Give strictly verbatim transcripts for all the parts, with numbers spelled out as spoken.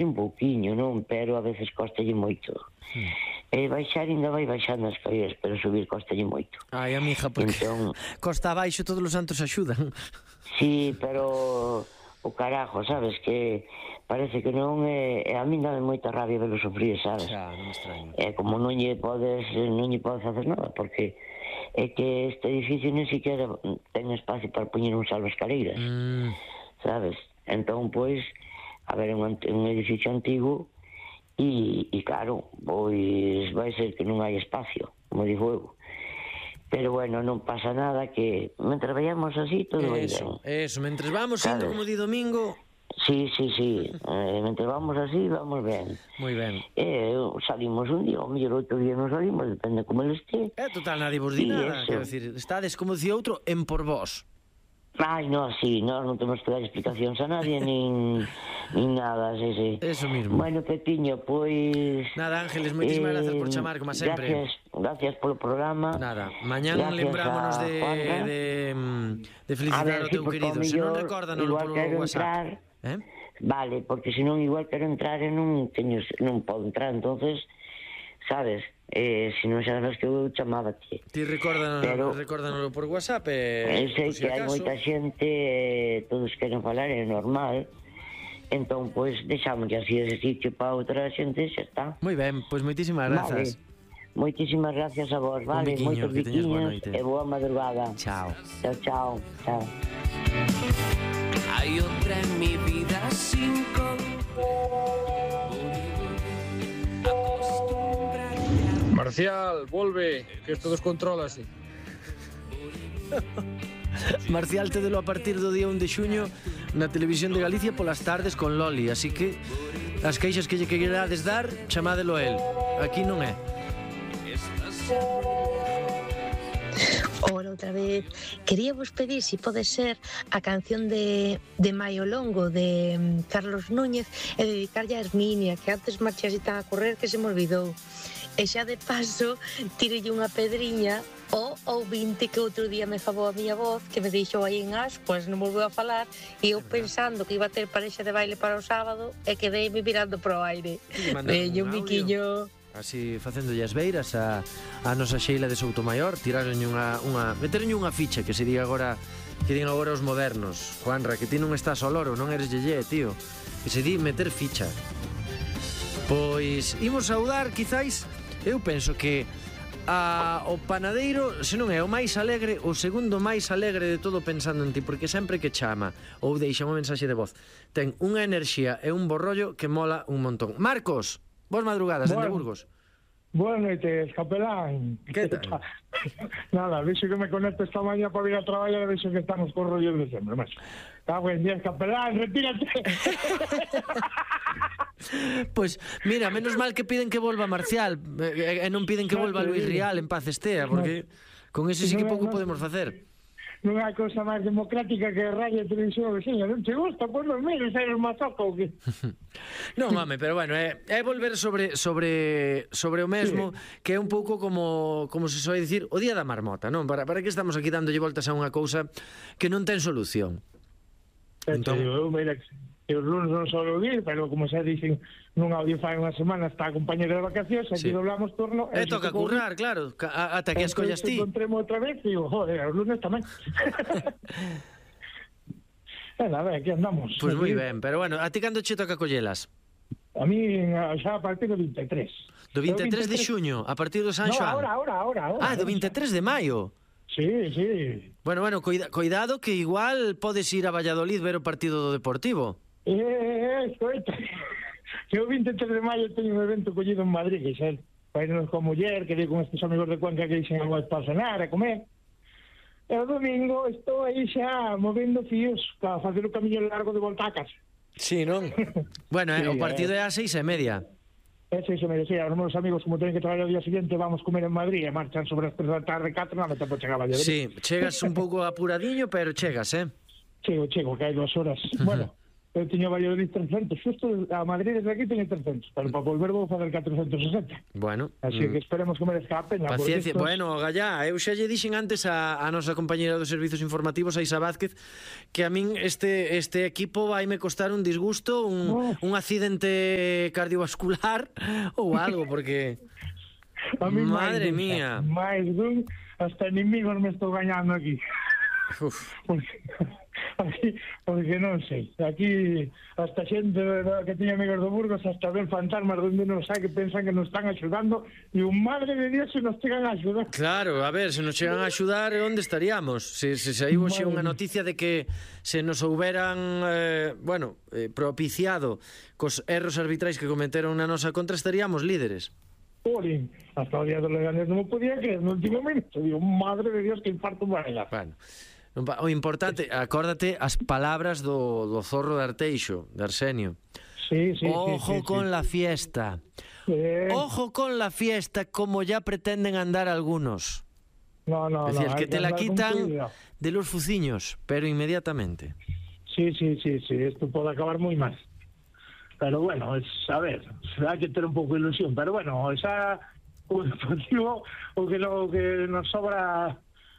un pouquiño, non? Pero a veces costalle moito. Mm. E baixar ainda vai baixando as caídas, pero subir costalle moito. Ai, amiga, porque entón, costa abaixo todos os santos axudan. Sí, pero o carajo, sabes, que parece que non é... A mí dame moita rabia velo sufrir, sabes? Xa, non me extraño. É como non lle podes, non lle podes facer nada, porque é que este edificio non siquiera ten espacio para poñer un salvaescaleiras, mm. sabes? Entón, pois, a ver, un, un edificio antigo e, e claro, pois vai ser que non hai espacio, como digo eu. Pero bueno, non pasa nada, que mentre vayamos así, todo vai ben. Eso, mentre vamos indo como di Domingo... Sí, sí, sí, eh, mentre vamos así, vamos ben. Moi ben. Eh, salimos un día, o mellor outro día non salimos, depende como ele este. É total, nadie vos di nada, quero dicir, estades, como dicía outro, en por vos. Ai, no, sí, nós non temos que dar explicacións a nadie, nin, nin nada, sí, sí. Eso mismo. Bueno, Pepiño, pois... Nada, Ángeles, moitísimas eh, gracias por chamar, como sempre. Gracias, gracias polo programa. Nada, mañán lembrámonos de, de, de felicitar ao teu querido. Se non recórdanolo polo WhatsApp. Eh? Vale, porque senón igual quero entrar e non teño, non podo entrar, entonces, sabes... Eh, se non xa sabes que eu chamábate. Ti recórdanos, recórdanos por WhatsApp e, eh, sei que hai moita xente, eh, todos queren falar, é normal. Entón, pois, deixamos así ese sitio para outra xente, xa está. Moi ben, pois moitísimas grazas. Vale. Moitísimas gracias a vos, vale? Moitos biquiños e boa madrugada. Chao. Chao, chao, chao. Hai outra en mi vida sin Marcial, volve, que isto descontrólase. Marcial, tedelo a partir do día un de xuño na Televisión de Galicia polas tardes con Loli, así que as queixas que lle querades dar, chamádelo a él. Aquí non é. Ora, outra vez, quería vos pedir se si pode ser a canción de, de Maio Longo de um, Carlos Núñez e dedicarlle a Herminia, que antes marchase tan a correr que se me olvidou. E xa de paso tirelle unha pedriña ao ouvinte que outro día me favou a miña voz, que me deixou aí en ascuas, non volveu a falar, e eu pensando que iba a ter parexa de baile para o sábado e quedeime mirando pro aire. Veño un biquiño. Así facéndolle as beiras a, a nosa Sheila de Soutomaior, tiraronlle unha, unha meteronlle unha ficha que se diga agora, que digan agora os modernos. Juanra, que ti non estás ao loro, non eres yeye, tío. Que se di meter ficha. Pois imos saudar, quizáis. Eu penso que a, o panadeiro, se non é o máis alegre, o segundo máis alegre de todo pensando en ti, porque sempre que chama ou deixa unha mensaxe de voz, ten unha enerxía e un borrollo que mola un montón. Marcos, boas madrugadas, dende Burgos. Boas noites, capelán. Que tal? Nada, vexo que me conecto esta maña para ir a traballar e vexo que estamos con rollos de sempre, mas. Cago en diez, capelán, retírate. Pois, pues, mira, menos mal que piden que volva Marcial e, e non piden que volva Luis Rial en paz estea, porque con ese sí que pouco podemos facer. Non hai cousa máis democrática que a radio e televisión, veciña, non te gusta, pois non mires, eres mazoco ou que? Non, home, pero bueno, é, é volver sobre sobre sobre o mesmo, sí. Que é un pouco como como se soe dicir, o día da marmota, non? Para, para que estamos aquí dándolle voltas a unha cousa que non ten solución. Entón, eu, mira, que os lunes non solo vir, pero como xa dicen nun audio fai unha semana está a compañera de vacacións, aquí sí. Doblamos turno e toca currar, claro, ata que escollas ti. Encontremos outra vez e digo, joder, os lunes tamén. E nada, aquí andamos. Pois pues moi ben, pero bueno, a ti cando che toca collelas? A mí xa a partir do vinte e tres. Do vinte e tres de xuño, a partir do San Xoán? No, ahora, ahora, ahora, ahora. Ah, do vinte e tres de maio. Sí, sí. Bueno, bueno, cuida, cuidado que igual podes ir a Valladolid ver o partido do Deportivo. Eh, eh, escoita. Que o vinte e tres de maio teño un evento collido en Madrid, que xa para irnos con muller, que digo con estes amigos de Cuenca que dixen algo para cenar, a comer. E o domingo estou aí xa movendo fíos para facer o camiño largo de volta a casa. Sí, non? Bueno, sí, eh, o partido é a seis e media. É seis e media, sí, os meus amigos como teñen que traballar o día seguinte vamos comer en Madrid e marchan sobre as tres da tarde, catro, non me tempo chegar a Valladolid. Sí, chegas un pouco apuradiño, pero chegas, eh? Chego, chego, que hai dúas horas. Bueno, eu tiño Valladolid trescentos, xusto a Madrid desde aquí teño trescentos, pero para volver vou fazer catrocentos e sesenta. Bueno, Así mm. que esperemos que merezca a pena. Paciencia, estos... bueno, Gallá, eu xa lle dixen antes a, a nosa compañera dos servizos informativos, a Isa Vázquez, que a min este este equipo vaime costar un disgusto, un, oh. un accidente cardiovascular ou algo, porque... a mí madre máis mía. Máis dun, hasta enemigos me estou gañando aquí. Uf. Porque, aquí, porque non sei, aquí hasta xente que tiña amigos do Burgos hasta ven fantasmas donde non sabe que pensan que nos están axudando e un madre de Dios se nos chegan a axudar. Claro, a ver, se nos chegan a axudar, onde estaríamos? Se, se saiu xe unha noticia de que se nos houberan eh, bueno, eh, propiciado cos erros arbitrais que cometeron na nosa contra, estaríamos líderes. Porín, hasta o día do Leganés non me podía creer no último minuto, digo, madre de Dios, que infarto vai dar. Bueno, o importante, acórdate as palabras do, do Zorro de Arteixo, de Arsenio. Sí, sí, Ojo sí, sí, con sí. la fiesta. Sí. Ojo con la fiesta, como ya pretenden andar algunos. No, no, es decir, no, que te la quitan cuidado. de los fuciños, pero inmediatamente. Sí, sí, sí, sí, esto pode acabar moi mal. Pero bueno, es, a ver, hai que ter un pouco de ilusión, pero bueno, esa o deportivo o que, lo, que nos sobra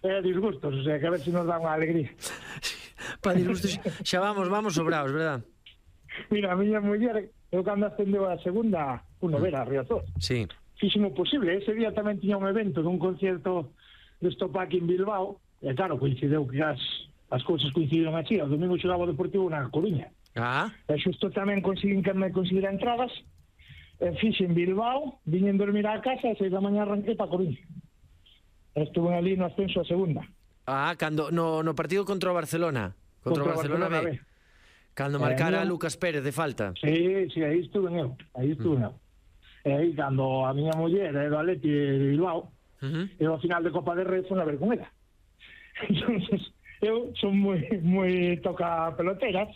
é disgustos, o sea, que a ver se si nos dá unha alegría. Para disgustos, xa vamos, vamos sobrados, verdad? Mira, a miña muller, eu cando ascendeu a segunda, uno vera, a Riazor. Sí. Fíximo posible, ese día tamén tiña un evento dun concierto de Estopac en Bilbao, e claro, coincideu que as, as cousas coincidiron así, o domingo xogaba o Deportivo na Coruña. Ah. E xusto tamén conseguín que me conseguir entradas, e fixe en Bilbao, viñen dormir á casa, e seis da mañá arranquei pa Coruña. Estuve ali no ascenso a segunda. Ah, cando no, no partido contra o Barcelona. Contra, contra o Barcelona, Barcelona B. B. Cando marcara eh, Lucas Pérez de falta. Sí, sí, aí estuve eu. Aí estuve eu. E aí, cando a miña muller é do Atleti de Bilbao, uh -huh. e ao final de Copa de Rei foi a ver con ela. Entonces, eu son moi, moi toca peloteras.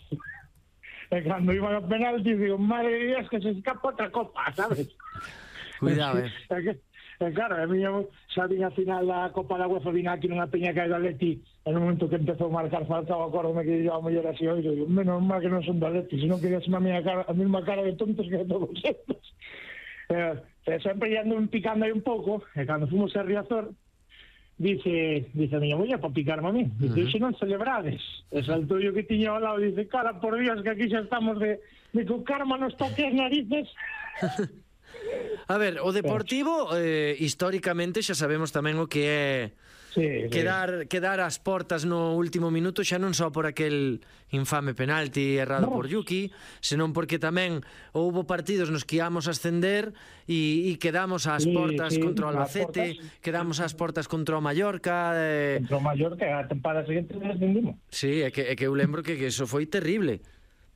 E cando iban a penalti, digo, madre de Dios, que se escapa outra copa, sabes? Cuidado, eh. É que, é claro, a miña xa vin a final da Copa da UEFA, vin aquí nunha peña que hai do Atleti, en un momento que empezou a marcar Falcao, acórdome que yo a muller así, oí, digo, menos mal que non son do Atleti, senón que a miña cara, a mesma cara de tontos que de todos estos. Eh, sempre ando picando aí un pouco, e cando fomos a Riazor, dice, dice a miña muller, para picarme a mí, dice, uh -huh. xe non celebrades. E saltou yo que tiña ao lado, dice, cara, por Dios, que aquí xa estamos de, de que o karma nos toque as narices. A ver, o Deportivo, eh, históricamente, xa sabemos tamén o que é sí, quedar, sí. quedar ás portas no último minuto, xa non só por aquel infame penalti errado no. por Yuki, senón porque tamén houbo partidos nos que íamos a ascender e, e quedamos ás sí, portas sí, contra o Albacete, portas, quedamos ás portas contra o Mallorca. Eh... Contra o Mallorca, a tempada seguinte descendimos. Sí, é que, é que eu lembro que, que eso foi terrible.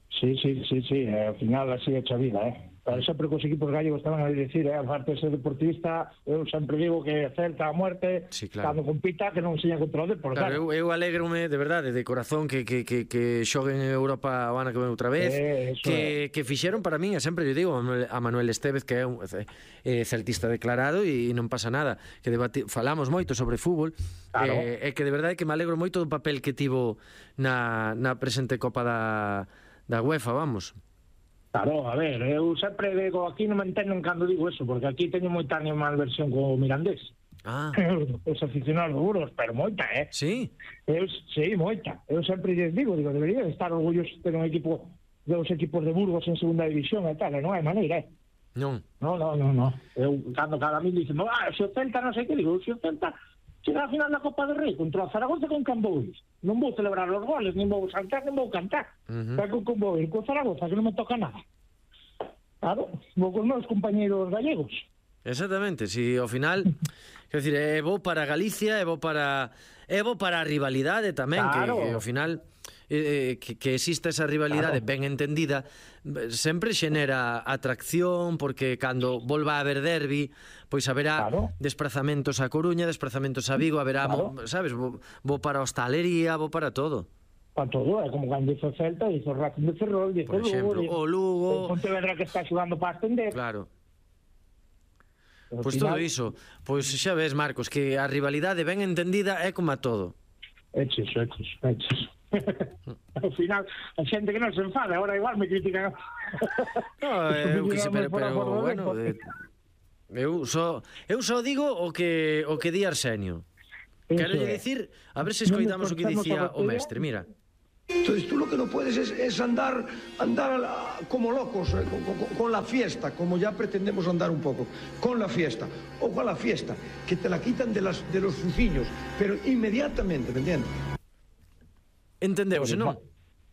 Sí, sí, sí, sí, ao final así é a vida, eh. Pero sempre que os equipos gallegos estaban a dicir, eh, aparte de ser deportista, eu sempre digo que Celta a muerte, sí, claro. Cando compita, que non seña contra o Depor. Claro, eu, eu alegrome, de verdade, de corazón, que, que, que, que xoguen en Europa o ano que ven outra vez, eh, que, que fixeron para min, e sempre eu digo, a Manuel Estévez, que é un eh, celtista declarado, e non pasa nada, que debati, falamos moito sobre fútbol, claro. eh, e que de verdade que me alegro moito do papel que tivo na, na presente Copa da, da UEFA, vamos. Claro, a ver, eu sempre digo, aquí non me entenden cando digo eso, porque aquí teño moita animal versión co Mirandés. Ah. Os aficionados duros, pero moita, eh? Sí? Eu, sí, moita. Eu sempre lles digo, digo, debería estar orgullosos de ter un equipo, de os equipos de Burgos en segunda división e tal, e non hai maneira, eh? Non. No, no, no, no. Eu, cando cada mil dicen, ah, se o Celta non sei que, digo, se o Celta chega a final da Copa del Rei contra o Zaragoza con Cambois. Non vou celebrar os goles, nin vou saltar, nin vou cantar. Uh -huh. Pero con Cambois, con Zaragoza, que non me toca nada. Claro, vou con meus compañeros gallegos. Exactamente, si ao final, quer dizer, é bo para Galicia, é bo para é bo para a rivalidade tamén, claro. que, que ao final eh, que, que exista esa rivalidade, claro. ben entendida, sempre xenera atracción, porque cando volva a haber derbi, pois haberá claro. desplazamentos a Coruña, desplazamentos a Vigo, haberá, claro. sabes, bo, bo para a hostalería, bo para todo. Para todo, é como cando hizo Celta, hizo Racing de Ferrol, hizo Lugo, o Lugo, o Pontevedra que está xugando para ascender. Claro. Pois pues todo iso, pois pues xa ves, Marcos, que a rivalidade ben entendida é como a todo. É chiso, é chiso, é chiso. Ao final, a xente que non se enfada, agora igual me critican. No, eu que se, pero, pero bueno, eh, eu só eu só digo o que o que di Arsenio. Quero lle dicir, a ver se escoitamos o que dicía o mestre, mira. Entonces tú lo que no puedes es, es andar andar la, como locos eh, con, con, con la fiesta, como ya pretendemos andar un poco, con la fiesta. Ojo a la fiesta, que te la quitan de, las, de los fuciños, pero inmediatamente, ¿me entiendes? Entendeuse, non?